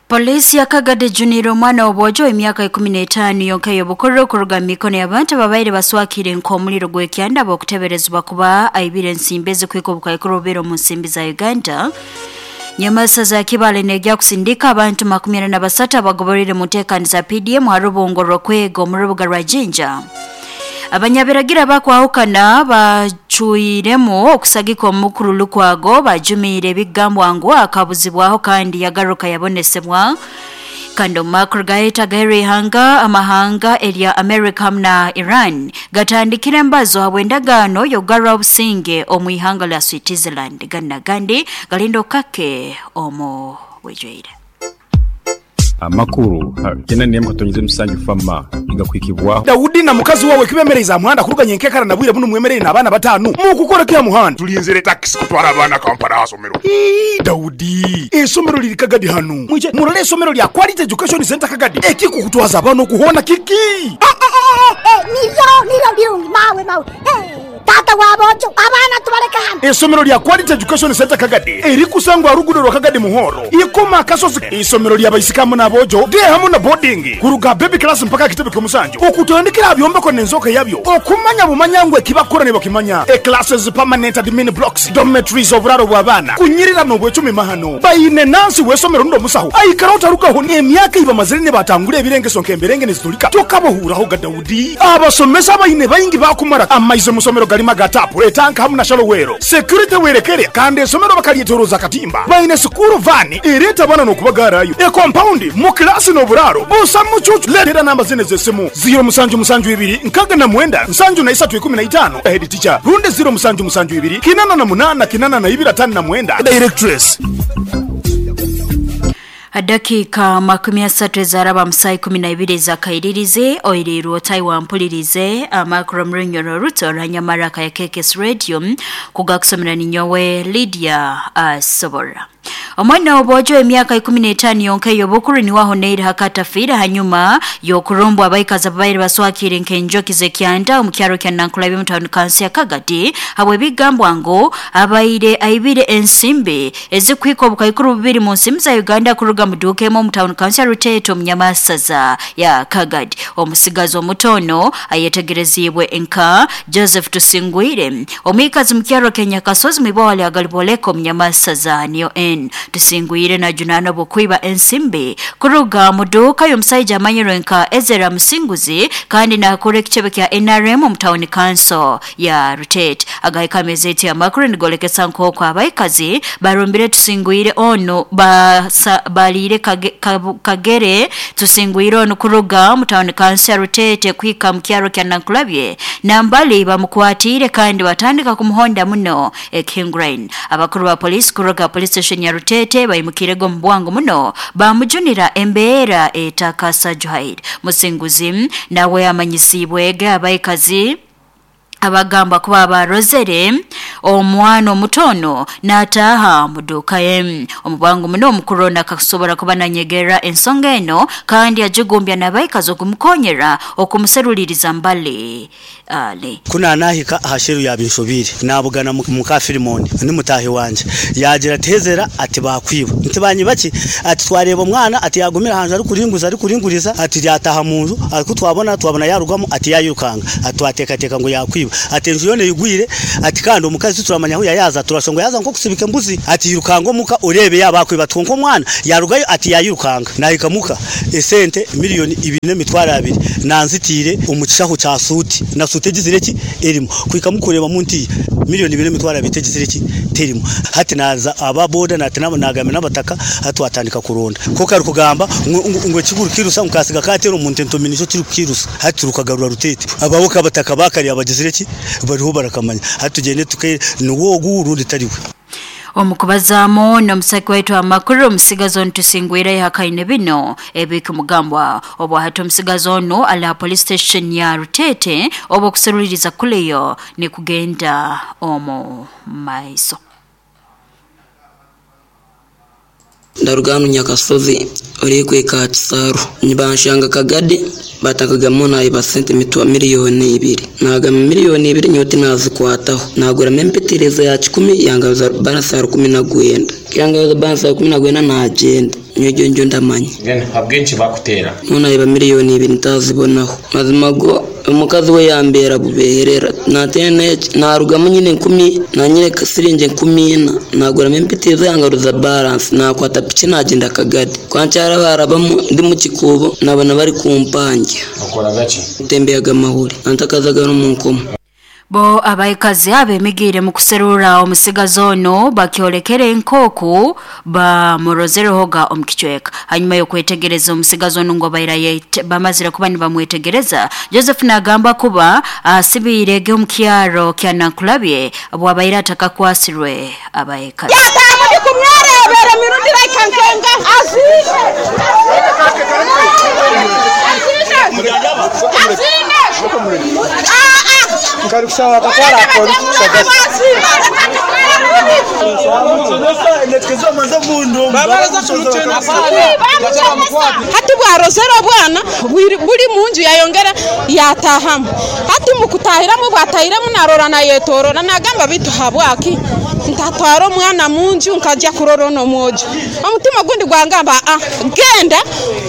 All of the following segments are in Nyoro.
Polisi ya Kagadi ejuniire omwana w'obwojo emyaka 15 yonka ey'obukuru kuruga mu mikono y'abantu ababaire baswakire nk'omuliro gw'ekyanda b'okuteberezebwa kuba aibire ensimbi ezikuhika obukaikuru bubiri omu nsimbi za Uganda. Nyamasa za Kibale negya kusindika abantu 43 abagoborire mu nteekaniza PDM ha rubungo rw'okwega omu rubuga rwa Jinja. Abanyabiragira bakwahukana bacuiremu okusagika omukuru Lukwago bajumiire ebigambwa ngu akabuzibwaho kandi yagaruka yabonesebwa. Kandi omu makuru gaheta ihanga amahanga erya America hamwe na Iran gatandikire embazo habw'endagaano y'okugarura obusinge omu ihanga lya Switzerland. Gana gandi galinda okake omu bwijwire. Amakuru 8.7 fama igakwikibwaho Daudi na mukazi wawe kibemereza muhanda kuruganya enkekara na bwire buno mwemerere n'abaana batanu mukukora kya muhanda tulinzire taxi kutwara abaana Kampala asomero. Daudi, esomero liri Kagadi hano mwije murole esomero lya Quality Education Center Kagadi ekikukutwaza abaana okuhona kiki. Niryo birungi mawe mawe. Tata wabojo abaana tubaleka hano. Esomero lya Quality Education Center Kagadi erikusangwa rugudo rwa Kagadi Muhoro ikoma akasozi. Isomero lya baisikamu n'abojo de hamu na boarding kuruga baby class mpaka kitebe ky'omusanju okutandikira byombeko n'enzoka yabyo okumanya bumanyangwe kibakora ne bakimanya. E classes permanent admin blocks dormitories oburaro bw'abaana kunyirira n'obwecumi mahano bayine nansi w'esomero ndo musaho aikara otarukaho emyaka ibamazire ne batangura ebirengeso nk'emberenge nezitulika tokabohuraho ga Daudi. Abasomesa bayine bayingi bakumara amaize musomero galima gatapu etanka hamu na shalowero security werekere kandi esomero bakalyetoroza katimba bayine sukuru vani ereta bana n'okubagarayo e compound mu klasi n'oburaro busa mucucu. Letera namba zine z'essimu 0 7 7 2 69 73 15 head teacher runde 0 7 7 2 88 82 59 directress. Dakika 30 zaraba msai 12 za kairirize oiriru Taiwan mpulirize amakuru mrunyoro ruto ranyamaraka ya KKS Radio kugakusomera ninyowe Lydia Sobora. Omwana w'obwojo emyaka 15 yonka ey'obukuru niwaho neiri hakatafira hanyuma y'okurumbwa abaikazi ababaire baswakire nk'enjoki z'ekyanda omu kyaro kya Nankulabi mu town council ya Kagadi habwe bigambwa ngu abaire aibire ensimbi ezikuhika obukaikuru bubiri mu nsimbi za Uganda kuruga mu duka emu omu town council ya Ruteto omu Nyamasaza ya Kagadi. Omusigazi omutono ayetegerezibwe nka Joseph Tusingwire omwikazi mu kyaro kya Nyakasozi mwibwale agaliboleko omu Nyamasaza niyo N Tusingwire na junana bukwiba ensimbi kuruga muduka y'omusajja amanyirwe nka Ezra Musinguzi kandi nakora ekitebe kya NRM omu town council ya Rutete. Agahika amezeti amakuru nigolekesa nk'oku abaikazi barumbire Tusingwire ono balire kagere Tusingwire ono kuruga mu town council ya Rutete kwika mu kyaro kya Nankulabye nambali bamukwatire kandi batandika kumuhonda muno King. Abakuru ba polisi kuruga police station ya Rutete bayimukirego mbwangu muno bamujunira embeera etakasa Juhaid. Musinguzi nawe amanyisibwege abaikazi abagamba kuba abarozere omwana omutono n'ataaha mu dduuka ye. Omubwangu muno omukuru nakakusobora kuba nanyegera ensonga eno kandi agigumbya n'abaikazi okumukonyera okumuseruliriza mbali ale. Kuna nahika ahasheru yabinshobire nabugana muka Filimoni ni mutahi wanje yagira tezera ati bakwiba ntibanyi baki ati twareba omwana ati yagumira hanze ari kuringuza ari kuringuriza ati yataha mu nzu ariko twabona yarugamo ati yayirukanga ati wateka teka ngo yakwiba ati nzu yone yigwire ati kandi omukazi turamanya aho yayaza turashongo yaza nko kusibika embuzi ati yirukango muka urebe yabakwiba twonko mwana yarugayo ati yayirukanga nahika muka esente miliyoni 2.2 nanzitire umucishaho cha suti na suti gizireki erimo kwika mukureba munti miliyoni 2.2 tegizireki terimo hati naza aba boda natina nagame nabataka hati watandika kuronda ko kari kugamba ngo kiguru kirusa mukasiga katero umuntu entominisho kiri kirusa hati rukagarura rutete ababoka bataka bakari abagizireki bariho barakamanya hati tugende tuke nuwo gurundi tariwe. Omukubazamo n'omusaki waitu amakuru omusigazi ono Tusingwire yahakaine bino ebikumugambwa obwa hati omusigazi ono ala police station ya Rutete oba okuseruliriza kuleyo ni kugenda omu maiso. Ndarugano Nyakasozi orikweka Kisaru nibanshanga Kagadi batakagamo nayi basente mitwa miliyoni 2 nagama miliyoni 2 nyoti nazikwataho nagura mempetereza ya 10 yangaza balance ya 19 yangaza balance ya 19 nagenda Nyowe egyo ndamanya. Then habw'enki bakuteera? Nyowe nayeba 2 million ntazibonaho. Mazima go omukazi we yambeera bubeherera. Natene narugamu nyine 1000 nanyine siringi 14,000 naguramu empitizo yangaruza balance nakwata piki nagenda Kagadi. Kwankyara barabamu ndi mu kikuubo nabona bari kumpangya. Okoraga ki? Ntembeyaga amahuri antakazaga no mu nkomo. Bo abaikazi abemigiire mu kuserura omusigazi ono bakyolekere enkooku bamurozerehoga omu kicweka. Hanyuma y'okwetegereza omusigazi ono ngu baira bamazire kuba nibamwetegereza, Joseph nagamba kuba asibiirege omu kyaro kya Nankulabye bwabaire atakakwasirwe abaikazi. Hati bwarozera obwana buri munju yayongera yatahamu. Hati mukutahiramu bwatahiramu narora nayetorora nagamba bitu habwaki ntatwara omwana munju nkajya kurora ono mwojo. Omutima gundi gwangamba genda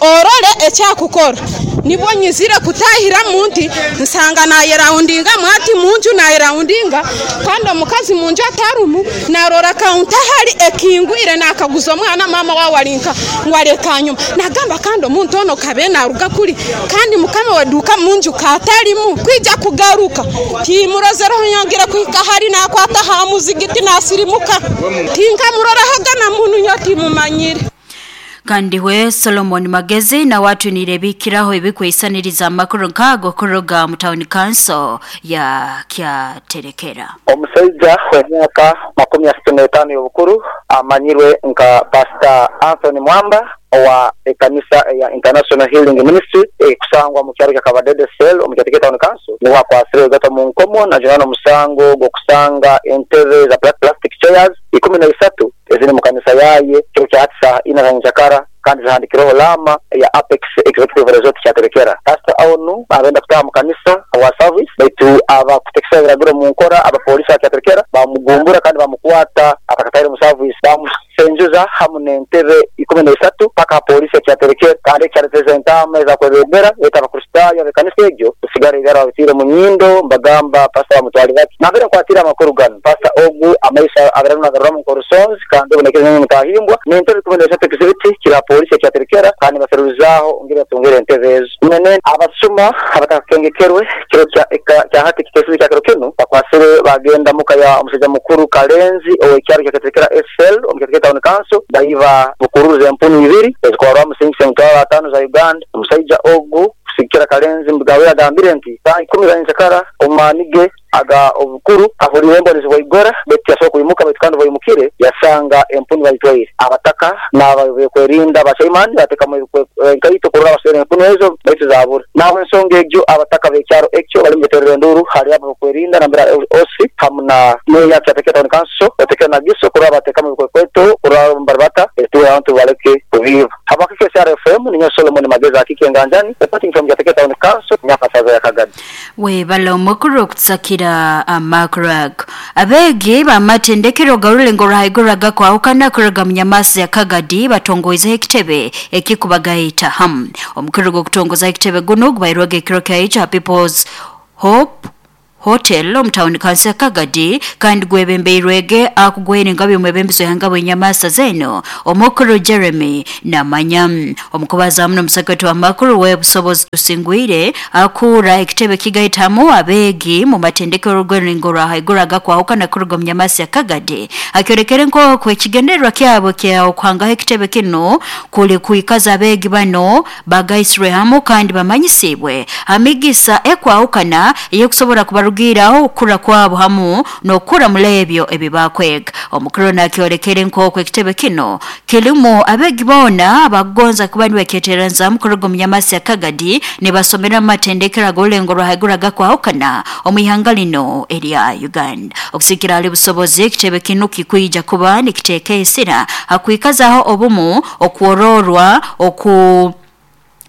orore ekyakukora. Nibwo nyizire kutahira munti nsanga nayeraundinga mwati munju nayeraundinga kandi omukazi munju atarumu narora kaunta hari ekingwire nakaguza omwana mama wawalinka ngwareka nyuma nagamba kandi omuntu ono kabe naruga kuri kandi mukama waduka munju katarimu kwija kugaruka timurozereho nyongera kuhika hari nakwata ha muzigiti nasirimuka tinkamurorahoga na muntu nyotimumanyire. Kandi we Solomon Magezi na watu nirebikiraho ebikwesaniriza amakuru nkago kuruga mu town council ya Kyaterekera. Omusajja w'emyaka 35 y'obukuru amanyirwe nka Pastor Anthony Mwamba owa ekanisa ya International Healing Ministry ekusangwa mu kyaro kya Kabadede Cell omu Kyaterekera Town Council niwe akwasire gata mu nkomo najana omusango gw'okusanga entebe za plastic chairs 13 eziri mu kanisa yaye kiro kya saa 4 za njakara kandi zihandikireho lama ya Apex Executive Resort Kyaterekera. Pastor onu abenda kutaha mu kanisa wa service baitu abakutekesa ebiragiro mu nkora abapolisi ba Kyaterekera bamugumbura kandi bamukwata atakataire mu service bamusenjuza hamu n'entebe 13 paka polisi ya Kyaterekera kandi kyareteza entama ezakwebembera eta abakristaayo ab'ekanisa egyo kusigara ibara babitiire mu nyindo mbagamba pastor bamutwalira bati nabere nkwatira amakuru gano. Pastor ogu amaisha abeera nagaruramu nk'orusonzi kandi obonekere mutahimbwa n'entebe 13 exhibit kira polisi Kyaterekera kandi baseruzaho ngira tungere entebe ezo. Nene abasuma abatakakengekerwe kiro kya hati kitesi kya kiro kino bakwasire bagenda muka ya omusajja mukuru Kalenzi ow'ekyaro kya Kyaterekera SL omu Kyaterekera Town Council bayiba bukuruza empunu 2 ezikwarwa musingi 5,000 za Uganda. Omusajja ogu kusikira Kalenzi mbugawe agambire nti saa 10 za njakara omanige aga obukuru ahurire embonezi bwaigora beti yasobola kuyimuka baitu kandi bwayimukire yasanga empunu bayitwaire. Abataka n'abakwerinda abachaimani batekamu enkaito kurora abasere empunu ezo baitu zabura. Naho ensonga egyo abataka b'ekyaro ekyo bali mubeterera enduru hari abo bakwerinda nambera osi hamu na meya Kyaterekera Town Council batekera na giso kurora batekamu ebikwekweto kurora mbaribata etuwe abantu baleke kubiba. Habakike SRFM ninyo Solomon Mageza akike nganjani reporting from Kyaterekera Town Council Nyakasaza ya Kagadi. We bala omukuru okutsakira amakurag abegi bamatendekero garulengo rahiguraga kwahukana kuruga munyamasi ya Kagadi batongoize ekitebe ekikubagaita ham. Omukuru gw'okutongoza ekitebe guno gubairwege ekiro kya People's Hope Hotel omu town council ya Kagadi kandi gwebembeirwege akugwere ngabi omwebembezo yanga bwenyamasa zeno omukuru Jeremy Namanya. Omukubaza muno omusakati wa makuru w'obusobozi tusingwire akura ekitebe kigaitamu abegi mu matendekero rw'enringo rwa haiguraga kwahukana kuruga munyamasi ya Kagadi akyorekere nk'oku ekigendererwa kyabo kya okuhangaho ekitebe kino kuli kuikaza abegi bano bagaisirwe hamu kandi bamanyisibwe amigisa ekwahukana ey'okusobora kubarugira okukura kwabo hamu n'okukura mulebyo ebibakwega. Omukuru nakyolekere nk'oku ekitebe kino kirimu abegi boona abakugonza kuba nibeketeranza kuruga omunyamasi ya Kagadi nibasomera amatendekero ag'orulengo rwa kwahukana omu ihanga lino erya Uganda. Okusikira hali busobozi ekitebe kino kikwija kuba nikiteeka esira hakwikazaho obumu okwororwa oku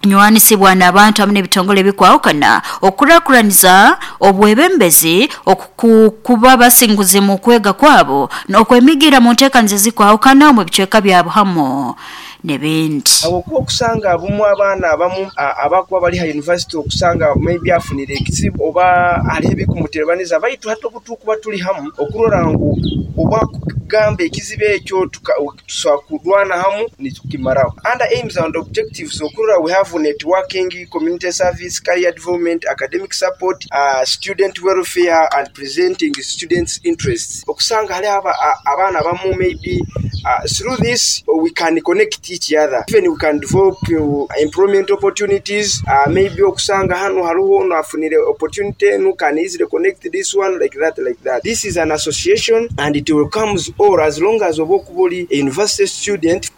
nywanisibwa n'abantu hamwe n'ebitongole bikwahukana okurakuraniza obwebembezi okukuba basinguzi mu kwega kwabo n'okwemigira mu nteekaniza zikwahukana mu bicweka byabo hamu n'ebindi. Habwokuba okusanga abumu abaana abamu abakuba bali ha university okusanga maybe afunire ekizibu oba hariho ebikumuterabaniza, baitu hati obu tukuba tuli hamu okurora ngu obwakugamba ekizibu ekyo tusobola kurwana hamu nitukimaraho. Under aims and objectives okurora we have networking, community service, career development, academic support, student welfare and presenting students interests. Okusanga hariho abaana abamu maybe through this we can connect each other, even we can develop employment opportunities, maybe okusanga hanu hariho onu afunire opportunity enu can easily connect this one like that, like that. This is an association and it welcomes all as long as oba okuba ori a university student.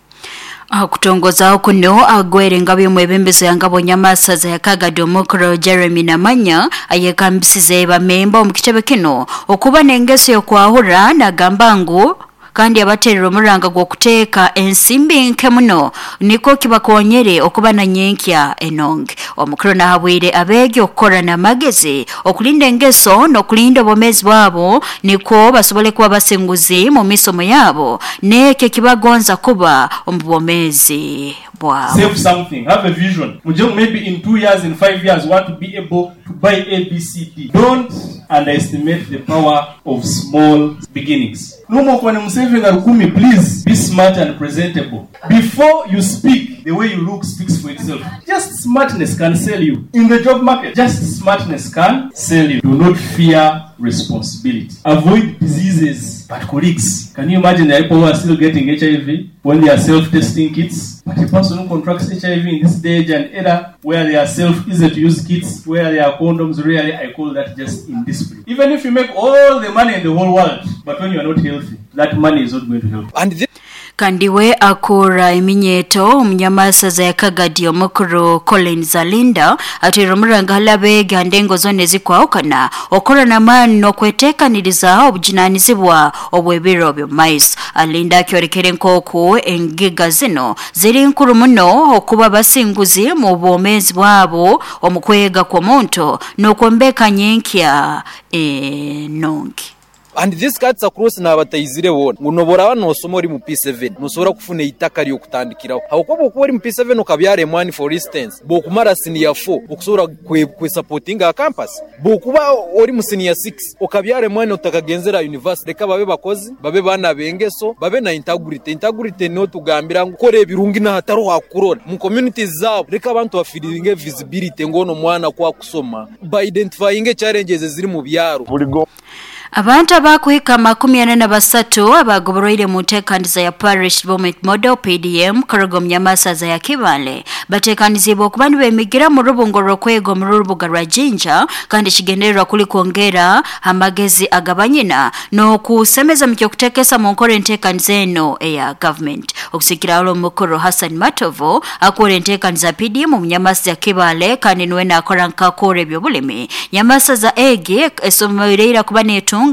Aha kutongozaho kuno agwere engabo y'omwebembezi ya ngabo nyamasaza ya Kagadi omukuru Jeremy Namanya ayekambisize bamemba omu kitebe kino okuba n'engeso y'okwahura, nagamba ngu kandi abaterera omuranga gw'okuteeka ensimbi nke muno niko kibakonyere okuba na nyenkya enonge. Omukuru nahabwire abeegi okukora n'amagezi okulinda engeso n'okulinda obwomeezi bwabo niko basobole kuba basinguzi mu misomo yabo n'ekyo ekibagonza kuba omu bwomeezi bwabo. Save something, have a vision. Maybe in 2 years, in 5 years, want to be able to buy A, B, C, D. Don't underestimate the power of small beginnings. Please be smart and presentable. Before you speak, the way you look speaks for itself. Just smartness can sell you. In the job market, just smartness can sell you. Do not fear responsibility. Avoid diseases. But colleagues, can you imagine the people who are still getting HIV when they are self-testing kits? But a person who contracts HIV in this day and era where they are self-easy to use kits, where there are condoms, really, I call that just indiscipline. Even if you make all the money in the whole world, but when you are not healthy, that money is not going to help. And kandi we akura eminyeto omunyamasaza ya Kagadi omukuru Colin Zalinda atera omuranga halabeega ndengo zone zikwawukana okora n'amaani n'okweteekaniriza obujunanizibwa obw'ebiro by'omumaiso. Alinda akyorekere nk'oku engiga zino ziri nkuru muno okuba basinguzi mu bwomeezi bwabo omu kwega kw'omuntu n'okwombeka nyenkya enongi. And this cuts across n'abataizire bona ngu noboraba nosoma ori mu P7 nosobora kufuna eitaka ry'okutandikiraho habwokuba okuba ori mu P7 okabyara emwani for instance bwokumara senior 4 okusobora kwesupportinga a campus, bwokuba ori mu senior 6 okabyara emwani otakagenzera university. Reka babe bakozi, babe bana bengeso, babe na integrity. Integrity niyo tugambira ngu kora ebirungi n'ahatariho hakurora mu communities zabo. Reka abantu bafiringe visibility ngono mwana kwa kusoma by identifying challenges eziri mu byaro. Abantu abakuhika 43 abagoboroire mu nteekaniza ya Parish Development Model PDM kuruga omu nyamasaza ya Kibale bateekanizibwa okuba nibemigira mu rubungo rw'okwega omu rubuga rwa Jinja, kandi kigendererwa kuli kwongera amagezi agabanyina n'okusemeza mu ky'okuteekesa mu nkora enteekaniza eno eya government. Okusikira olo omukuru Hassan Matovu akora enteekaniza PDM omu nyamasaza ya Kibale kandi niwe naakora nkakora eby'obulimi. Nyamasaza egi esomoireira kuba neetunga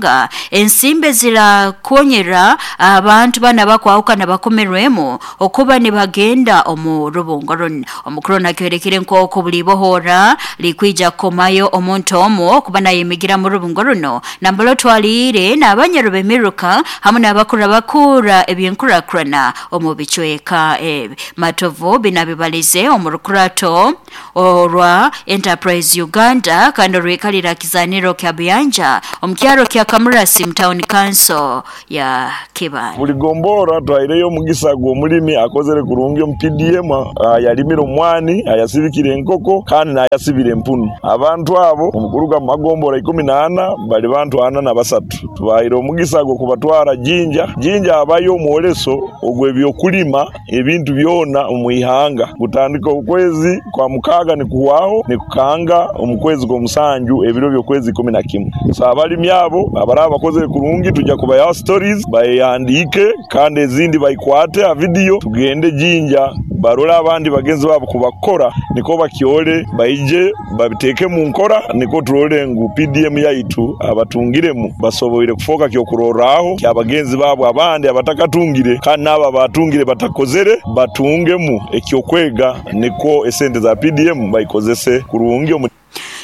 ensimbe zirakonyera abantu bana bakwawukana bakomerwemu okuba nibagenda omu rubungo runo. Omukuru nakyorekire nk'oku buli bohora likwija kukomayo omuntu omu okuba nayemigira mu rubungo runo nambalo twaliire n'abanyaro b'emiruka hamwe n'abakura bakura ebyenkurakurana omu bicweka ebi. Matovu binabibalize omu rukurato orwa Enterprise Uganda kandi orwikalira kizaniro kya Buyanja omu kyaro kya Kamurasi mu town council ya Kibale. Buli gombora twaireyo omugisa gw'omulimi akozere kurungi omu PDM, yalimire omwani, ayasibikire enkoko kandi nayasibire empunu. Abantu abo omukuruga mu magombora 14 bali bantu 43. Tubaire omugisa gwo kubatwara Jinja. Jinja abayo omwoleso ogw'ebyokulima ebintu byona omu ihanga. Gutandika okwezi kwa mukaaga nikuhwaho nikukanga omu kwezi gw'omusanju ebiro by'okwezi 11. So abalimi abo abaraba bakozere kurungi tujja kubayaho stories bayandiike kandi ezindi bayikwate a video tugende Jinja barole abandi bagenzi babo kubakora niko bakyole baije babiteeke mu nkora niko turole ngu PDM yaitu abatungiremu basoboire kufoka kyokurorraho kyabagenzi babo abandi abatakatungire kandi n'abo batungire batakozere batungemu ekyokwega niko esente za PDM bayikozese kurungi.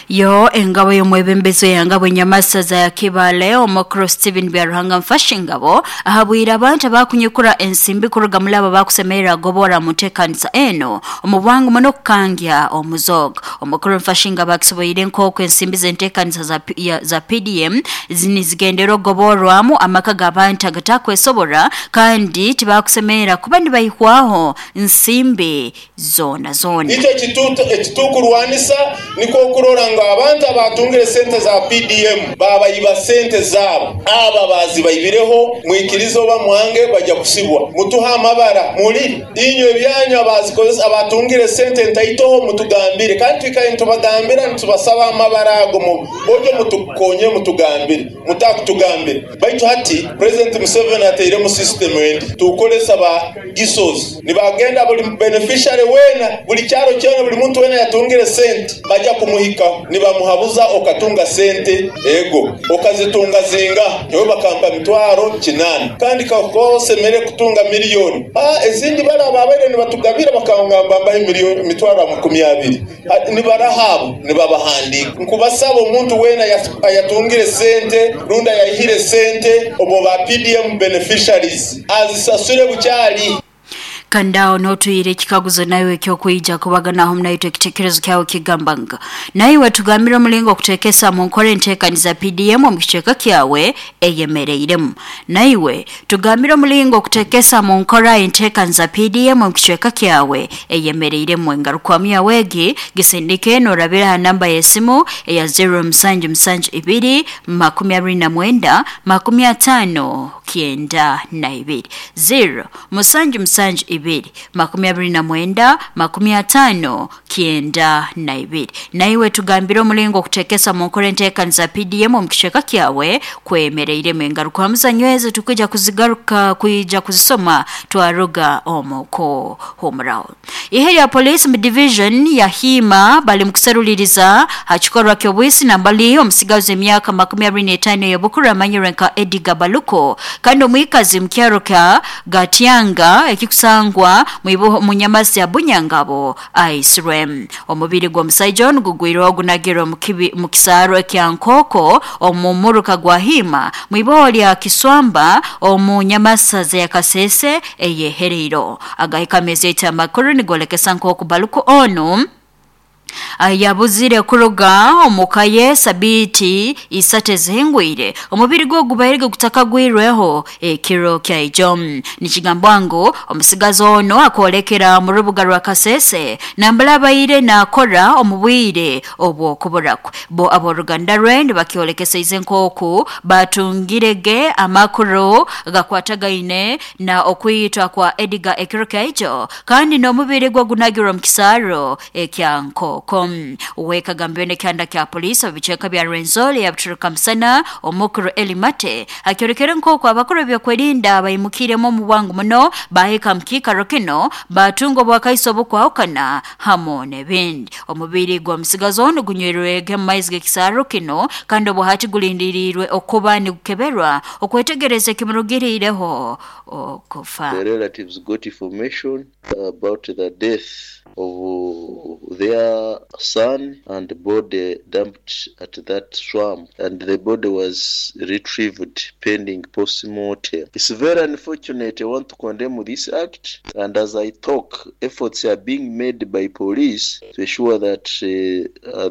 Yo engabo y'omwebembezi eyangabo enyamasaza ya Kibale omukuru Steven Byaruhanga Mfashingabo ahabwire abantu abakunyukura ensimbi kuruga muri abo bakusemerera gobora mutekanisa eno omu bwangu muno kukangya omuzoga. Omukuru Mfashingabo akisoboire nk'oku ensimbi z'entekanisa za PDM zinizigendera ogoborwamu amaka g'abantu agatakwesobora kandi tibakusemerera kuba nibayihwaho nsimbi zona zona. Icyo ekitukurwanisa niko okurora ngo abantu abatungire sente za PDM babayiba sente zabo, aba bazibayibireho mwikirizo oba mwange bajya kusibwa. Mutuha amabara muri inyo ebyanyu abazikozesa abatungire sente ntaitoho mutugambire, kandi twikaye ntubagambira ntubasaba amabara ago bojo mutukonye mutugambire mutakutugambire. Baitu hati President Museveni ateire mu system endi tukolesa ba gisos nibagenda buli beneficiary wena buli kyaro kyona buli muntu wena yatungire sente bajya kumuhika nibamuhabuza okatunga sente ego okazitunga zinga nyowe bakampa mitwaro 8 kandi kakosemere kutunga miliyoni ezindi bala babere nibatugabira bakangamba mbahe miliyoni mitwaro 20 nibarahabo nibabahandika. Nkubasaba omuntu wena ayatungire sente runda yahire sente obo ba PDM beneficiaries azisasure bukyali. Kandao notuyire ekikaguzo nawe ekyokwija kubaganaho mnaitwe ekitekerezo kyawe kigambanga nawe tugambira omulingo okutekesa mu nkora enteekaniza PDM omu kicweka kyawe eyemereiremu. Nawe tugambira omulingo okutekesa mu nkora enteekaniza PDM omu kicweka kyawe eyemereiremu. Engarukwamu yawe egi gisindike norabira ha namba y'esimu eya 0772 29 50 92 0 772 29 50 92. Naiwe tugambira omulingo okutekesa mu nkora enteekaniza PDM omu kicweka kyawe kwemereiremu. Engaruka muzanyweze tukija kuzigaruka kuija kuzisoma twaruga omuko homrao. Ihe ya police mu division ya Hima bali mukuseruliriza hakikorwa kyobwisi nambali omusigazi emyaka 25 y'obukuru amanyirwe nka Edgar Baluko kandi omwikazi mukyaro kya Gatyanga ekikusangwa munyamasi ya Bunyangabo aisirwe. Omubiri gw'omusajja ono gugwirwe ogunagirwe mu kisaro ekya Nkoko omumuruka gwa Hima mwiboho lya Kiswamba omu nyamasaza ya Kasese eyehereiro. Agahika mezi amakuru nigolekesa nk'oku Baluko ono yabuzire kuruga omukaye sabiti isate zihingwire. Omubiri gwo gubairige kutakagwirweho ekiro kya ijo. Nikigambwa ngu omusigazi ono akolekera mu rubuga rwa Kasese nambala baire nakora omubwire obwokuburakwe. Bo aboruganda rwe nibakyolekesa ize nkoku batungirege amakuru gakwatagaine na okwitwa kwa Edgar ekiro kya ijo kandi n'omubiri gwo gunagirwa mu kisaro ekya Nkoko. Uweka gambene kyanda kya polisi abicheka bya Rwenzori yabituruka msana omukuru Elimate akyorekere nkoko abakuru byokwerinda bayimukiremo mu bwangu muno baheka mkikaro kino batungo bwakaiso bukwahukana hamo nebindi. Omubiri gwa musigazo ono gunywerwege mu maizi g'ekisaro kino kandi obuhati gulindirirwe okuba nigukeberwa okwetegereza ekimurugirireho okufa. The relatives got information about the death of their son and body dumped at that swamp, and the body was retrieved pending post-mortem. It's very unfortunate. I want to condemn this act, and as I talk, efforts are being made by police to ensure that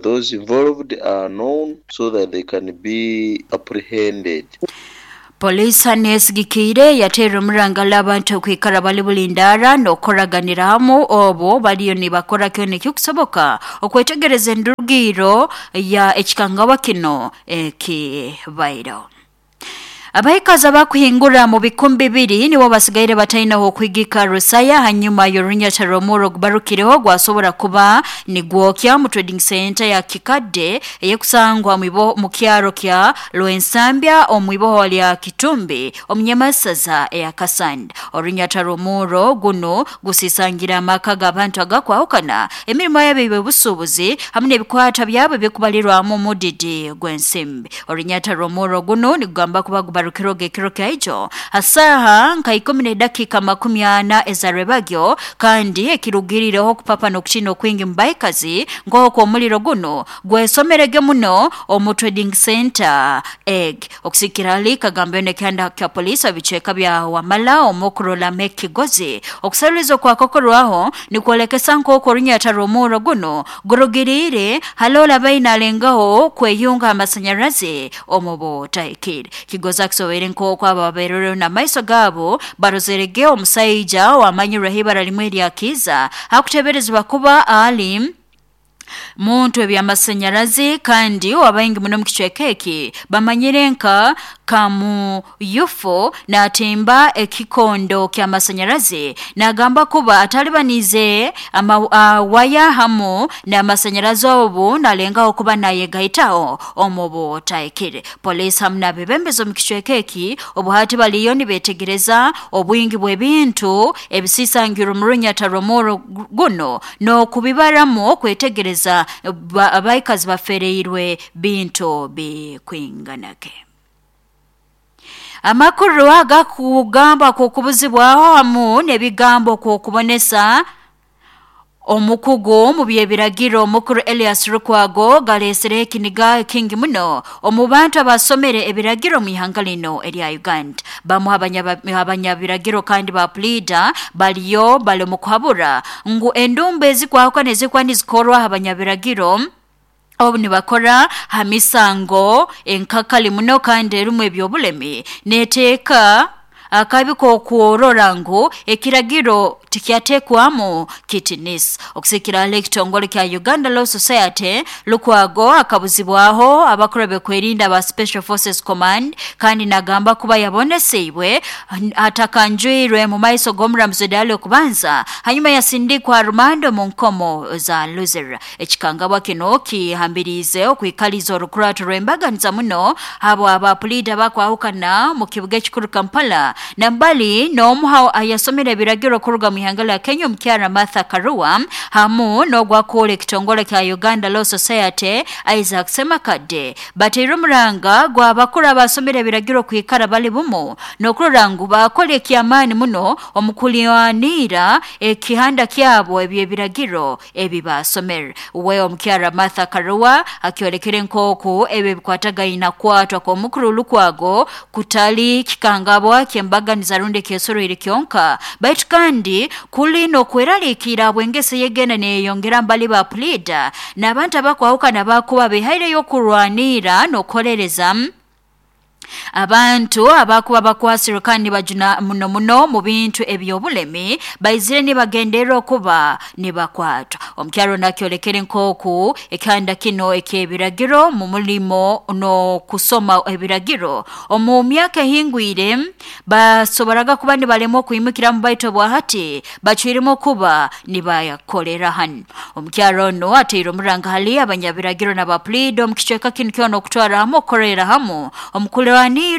those involved are known so that they can be apprehended. Polisi hanesigikire yatera omurangala abantu okwikara bali bulindara n'okoraganira hamu obo baliyo nibakora kyona ekikusoboka okwetegereza endugiro ya ekikangawa kino ekibairo. Abahikazi abakuhingura mu bikumbi bibiri nibo basigaire batainaho okwigika Rusaya hanyuma y'orunyata rw'omuro gubarukireho gwasobora kuba nigwokya mu trading center ya Kikadde eyekusangwa mu kyaro kya Lwensambya omwiboho lya Kitumbi omunyamasaza eya Kasanda. Orunyata rw'omuro guno gusisangira amaka g'abantu agakwahukana emirimo yabo eby'obusuubuzi hamwe n'ebikwata byabo ebikubalirwamu omudidi gw'ensimbi. Orunyata rw'omuro guno nigugamba kuba byarukiroga ekiro kyaijo hasaha nka 10:40 ezarebagyo kandi ekirugirireho kupapa n'okutina okwingi mubaikazi ngoko omuliro guno gwesomerege muno omu trading center egg okusikirali kagambyo nekyanda kya polisi abicheka bya Wamala omukurola Mekigozi okusarulizo kwa kokorwaho nikwolekesa nkoko runyata romuro guno gurugirire halola baina alengaho kweyunga amasanyarazi omubo taikiri Kigozi akisobere nkoko aba baberero na maiso gabo barozerege omusaija wamanyirwe hibara limwe lya Kiza hakuteberezwa kuba ali muntu eby'amasanyarazi kandi wabaingi muno mukichweka eki bamanyire nka Kamuyufo n'atemba ekikondo ky'amasanyarazi n'agamba kuba atalibanize waya hamu n'amasanyarazi obu nalengaho kuba nayegaitaho omubo taikire. Polisi hamu n'abebembezo mukichweka eki obuhati baliyo nibetegereza obwingi bw'ebintu ebisisangiro murunyata romoro guno n'okubibaramu kwetegereza abaikazi bafereirwe bintu bikwinganake. Amakuru agakugamba kukubuzibwaho hamu n'ebigambo kukubonesa omukugu mu byebiragiro omukuru Elias Lukwago galesere ekiniga kingi muno omu bantu abasomere ebiragiro mu ihanga lino erya Uganda. Bamu abanyabiragiro kandi ba pleader baliyo bali mu kuhabura ngu endumbe ezikwahukana nezikwa nizikorwa abanyabiragiro obu nibakora hamisango enkakali muno kandi erimu ebyobulemi neteeka akabiko kuorora ngu ekiragiro tikyatekwamu kitinisi. Okusikira ekitongole kya Uganda Law Society Lukwago akabuzibwaho abakora bekwerinda ba Special Forces Command kandi nagamba kuba yaboneseibwe atakanjwirwe mu maiso g'omuramuzi dali okubanza hanyuma yasindikwa rumando mu nkomo za Luzira. Ekikangabwa kino kihambirize okwikaliza orukurato rw'embaganiza muno abo abapulida bakwahukana mu kibuga ekikuru Kampala nambali n'omuha ayasomera ebiragiro kuruga mu ihanga lya Kenya omukyara Martha Karua hamu n'ogwakola ekitongole kya Uganda Law Society Isaac Semakadde bateire omuranga gw'abakuru abasomera ebiragiro kwikara bali bumu n'okurora ngu bakola ekyamaani muno omukulwanira ekihanda kyabo eby'ebiragiro ebibasomera. We omukyara Martha Karua akyolekere nk'oku ebyo ebikwatagaine kwatwa kw'omukuru Lukwago kutali kikangabwa kyembaganiza rundi kyesoroire kyonka baitu kandi kuli n'okweraliikira bwengese yegenda neyongera mbali ba pleader n'abantu abakwahukana bakuba behaireyo okurwanira n'okukolereza abantu abakuba bakwasirwe kandi bajuna muno muno mu bintu ebyobulemi baizire nibagenderera okuba nibakwatwa. Omukyaro nakyolekere nk'oku ekihanda kino eky'ebiragiro mu mulimo n'okusoma ebiragiro omu myaka ehingwire basoboraga kuba nibalema okwimukiramu baitu obwahati bacwiremu okuba nibayakolera hanu. Omukyaro ono ateire omuranga hali abanyabiragiro n'abapulida omu kicweka kinu kyona okutwara hamu okukorera hamu omukulwanira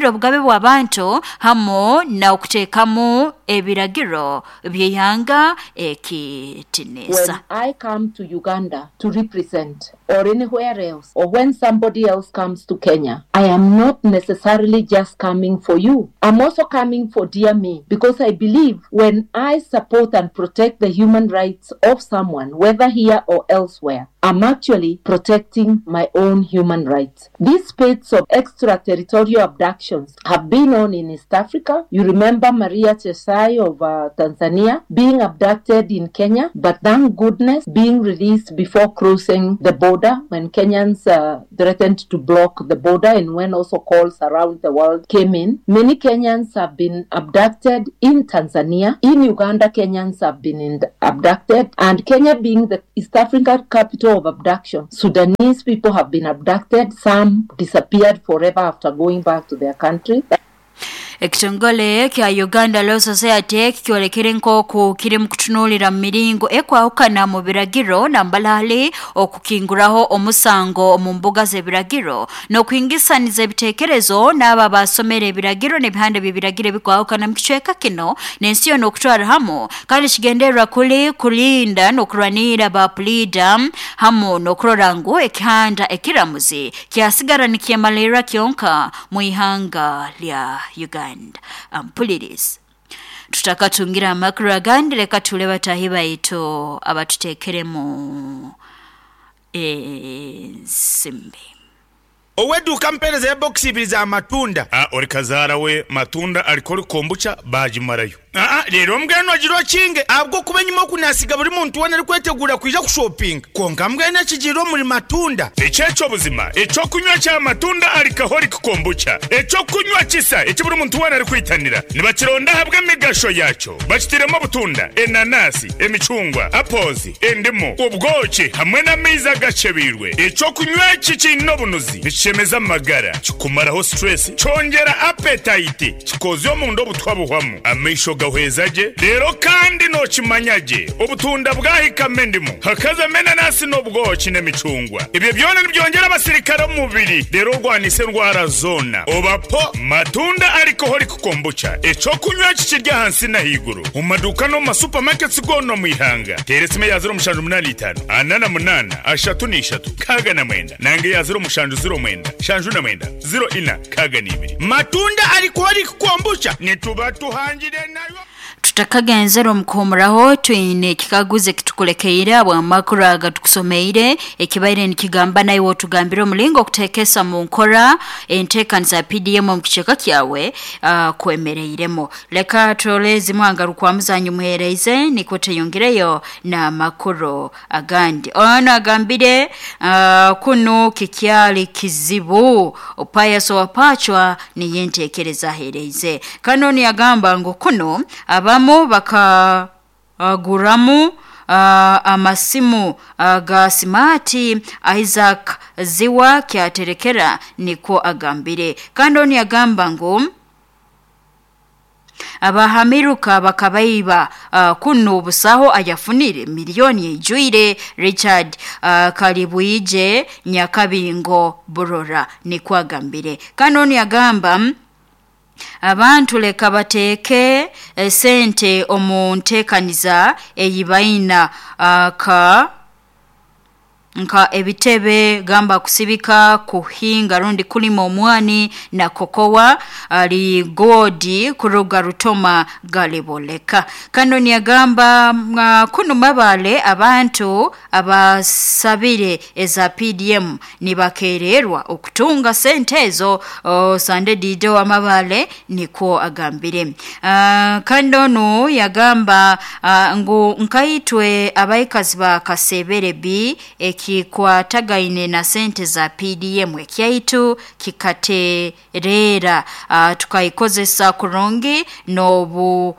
obugabe bw'abantu hamu na okuteekamu ebiragiro by'ihanga ekitinisa. When I come to Uganda to represent or anywhere else, or when somebody else comes to Kenya, I am not necessarily just coming for you. I'm also coming for dear me, because I believe when I support and protect the human rights of someone, whether here or elsewhere, I'm actually protecting my own human rights. These spates of extraterritorial abductions have been on in East Africa. You remember Maria Chesai of Tanzania being abducted in Kenya, but thank goodness being released before crossing the border when Kenyans threatened to block the border, and when also calls around the world came in. Many Kenyans have been abducted in Tanzania. In Uganda, Kenyans have been abducted, and Kenya being the East African capital of abduction, Sudanese people have been abducted. Some disappeared forever after going back to their country. Ekitongole kya Uganda Law Society kikyolekere nk'oku kiri mu kutunuulira mu miringo ekwahukana mu biragiro nambalali okukinguraho omusango mu mbuga z'ebiragiro n'okuhingisaniza ebiteekerezo n'abo abasomera ebiragiro n'ebihanda by'ebiragiro ebikwahukana mu kicweka kino n'ensi yona okutwara hamu, kandi kigendererwa kuli kulinda n'okurwanira ba puliida hamu n'okurora ngu ekihanda ekiramuzi kyasigara nikyemalirra kyonka mu ihanga lya Uganda. Ampulirizi tutakatungira amakuru agandi, leka tule batahi baitu abatuteekeremu ensimbi. Ow'eduuka mpeereza ebokisi ibiri za matunda. A Ori kazaara we matunda alikora kombucha baagimarayo. Aa Reero mbwenu ogire okinge ahabw'okuba enyima oku naasiga buri muntu weena arikweteguura kwija kushopinga. Kwonka mbwenu ekigiire omuri matunda. Eki eky'obuzima, eky'okunywa kya matunda alcoholic kombucha, eky'okunywa kisa eki buri muntu weena arikwitanira. Nibakironda ahabw'emigasho yaakyo. Bakitairemu obutunda, enanasi, emicungwa, apples, endimu, obwoki hamwe n'amaizi agakyebeirwe. Eky'okunywa eki kiine obunuzi, nikishemeza amagara, kikumaraho stress, kyongyera appetite, kikoozya omunda obutwa buhwamu, amaisho gahweza gye, reero kandi nookimanya gye obutunda bwahikamu endimu, hakazamu enanasi n'obwoki n'emicungwa. Ebyo byona nibyongyera abasirikare omu mubiri reero orwanise endwara zoona. Oba po matunda alcoholic kombucha, eky'okunywa eki kiri ahansi n'ahaiguru omu maduuka n'omu ma supermarkets goona omu ihanga. Teera esimu eya 0785 48 33 69 nanga eya 0709 79 04 62. Matunda alcoholic kombucha nituba tuhangire nayo. Tutakagenzera omu kuhumuraho, twine ekikaguzo ekitukulekeire ahabw'amakuru aga tukusomeire ekibaire nikigamba naiwe otugambire omulingo okuteekesa mu nkora enteekaniza ya PDM omu kicweka kyawe kwemereiremu. Leka turole ezimu aha ngarukwamu zanyu muheereize nikwo tweyongereyo n'amakuru agandi. Ono agambire kunu kikyali kizibu, Pius Owapachwa niyo enteekereza aheereize. Kandi onu yagamba ngu kunu abamu bakaguramu amasimu ga simaati. Isaac Ziwa kyaterekera nikwo agambire. Kandi onu yagamba ngu abahamiruka bakabaiba kunu busaho ayafunire miliyoni eijwire. Richard Kalibwije Nyakabingo Burora nikwo agambire. Kandi onu yagamba abantu leka bateeke esente omu nteekaniza ei baina ka nka ebitebe gamba kusibika kuhinga rundi kulima omwani na kokowa ali godi kuruga rutoma galiboleka. Kano niyagamba kunu mabale abantu abasabire eza PDM nibakererwa okutunga sente ezo. Sande Dido amabale nikwo agambire. Kando nu yagamba ngu nkaitwe abaikazi ba Kasebere B ekikwatagaine na sente za PDM ekyaitu kikaterera tukaikozesa kurungi n'obu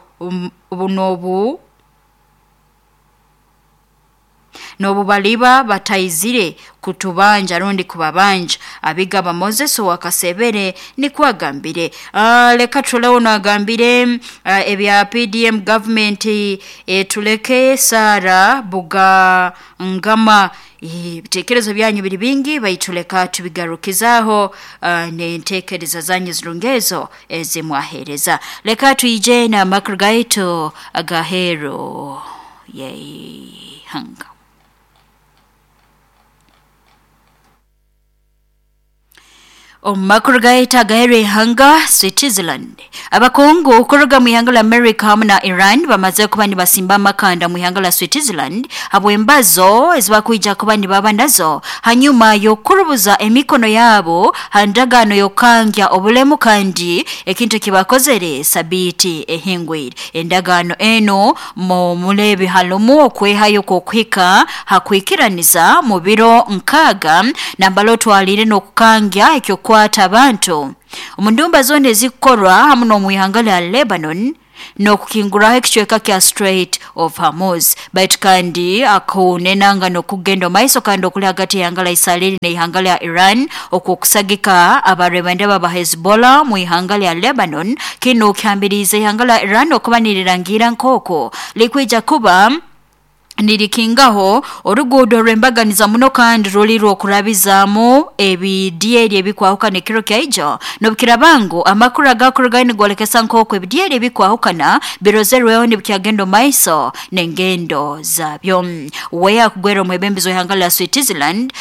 n'obu baliba bataizire kutubanja rundi kubabanja. Abigaba Moses wa Kasebere nikwo agambire. Leka tulewo nagambire ebya PDM government tuleke Sara Buga Ngama. Ebitekerezo byanyu biri bingi baituleka tubigarukizaho n'entekereza zanyu zirungezo ezimwahereza. Leka tuije na makuru gaitu agahero yeihanga. Omu makuru gaita agahero ihanga, Switzerland. Abakungu kuruga mu ihanga la America hamwe na Iran bamaze kuba nibasimba amakanda mu ihanga la Switzerland habw'embazo ezibakwija kuba nibaba nazo hanyuma y'okurubuza emikono yabo ha ndagaano y'okukangya obulemu kandi ekintu ekibakozere sabiiti ehingwire. Endagaano eno mu mulebi halumu okwehayo kw'okuhika hakwikiraniza mu biro 6 nambala otwalire n'okukangya ekyokwata abantu omu ndumba zoona ezikukorwa hamu n'omu ihanga lya Lebanon. N'okukinguraho ekicweka kya Strait of Hormuz. Baitu kandi akunenanga n'okugenda omaiso kandi okuli hagati y'ihanga lya Israeli n'ihanga lya Iran okwokusagika abarwebandeba ba Hezbollah mu ihanga lya Lebanon. Kinu kihambiriize ihanga lya Iran okuba nirirangira nk'oko likwija kuba nirikingaho oruguudo rw'embaganiza muno kandi ruli rw'okurabizaamu ebidyeri ebikwahukana ekiro kyaijo. Nobukirabangu amakuru agakurugayo nigwolekesa nk'oku ebidyeri ebikwahukana birozerweho nibikyagenda omu maiso n'engendo zabyo. We akugwera omwebembezi w'ihanga lya Switzerland,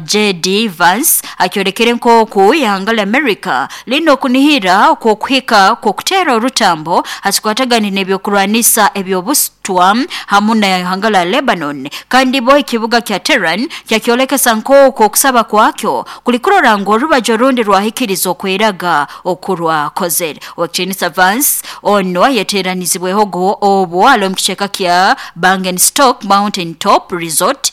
JD Vance, akyolekere nk'oku ihanga lya America lina okunihira okw'okuhika kw'okuteera orutambo hakikwatagane n'ebyokurwanisa eby'obusitwa hamu na ihanga lya Lebanon. Kandi bo ekibuga kya Tehran kyakyolekesa nk'oku okusaba kwakyo kuli kurora ngu orubaju orundi rwahikiriza okweraga okurwakozere. Owekitinisa Vance ono ayeteranizibweho go obwo ali omu kicweka kya Bungenstock Mountain Top Resort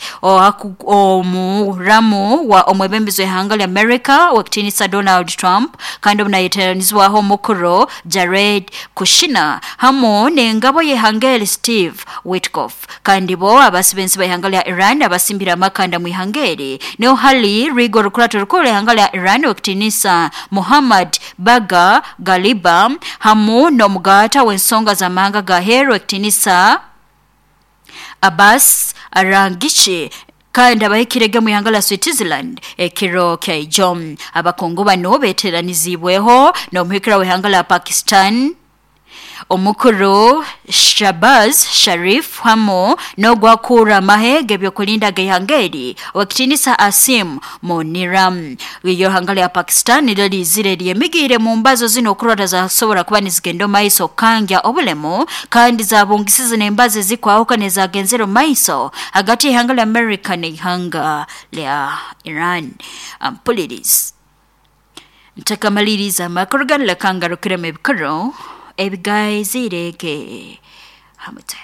omuramu wa omwebembezi w'ihanga lya America owekitinisa Donald Trump, kandi obu nayeteranizibwaho omukuru Jared Kushner hamu n'engabo y'ihanga eri Steve Witkoff. Kandi bo abasibensi b'ihanga lya Iran abasimbire amakanda mu ihanga eri niho hali Rigo rukurato rukuru ihanga lya Iran owekitinisa Muhammad Baga Galiba hamu n'omugata w'ensonga z'amahanga ga heru owekitinisa Abbas Arangichi, kandi abahikirege mu ihanga lya Switzerland ekiro kyaijo. Abakungu bano beteranizibweho n'omuhikira w'ihanga lya Pakistan omukuru Shahbaz Sharif hamu n'ogwakura amahe g'ebyokulinda g'ihanga eri owekitinisa Asim Muniram. Iyo hanga lya Pakistan niryo lizire lyemigiire mu mbazo zino okurora zasobora kuba nizigenda omu maiso kukangya obulemu, kandi zabungisize n'embazo ezikwahukana ezagenzere omu maiso hagati y'ihanga lya America n'ihanga lya Iran. Ampulirizi, ntakamaliriza amakuru ganu, leka ngarukiremu ebikuru ebigaizirege hamute.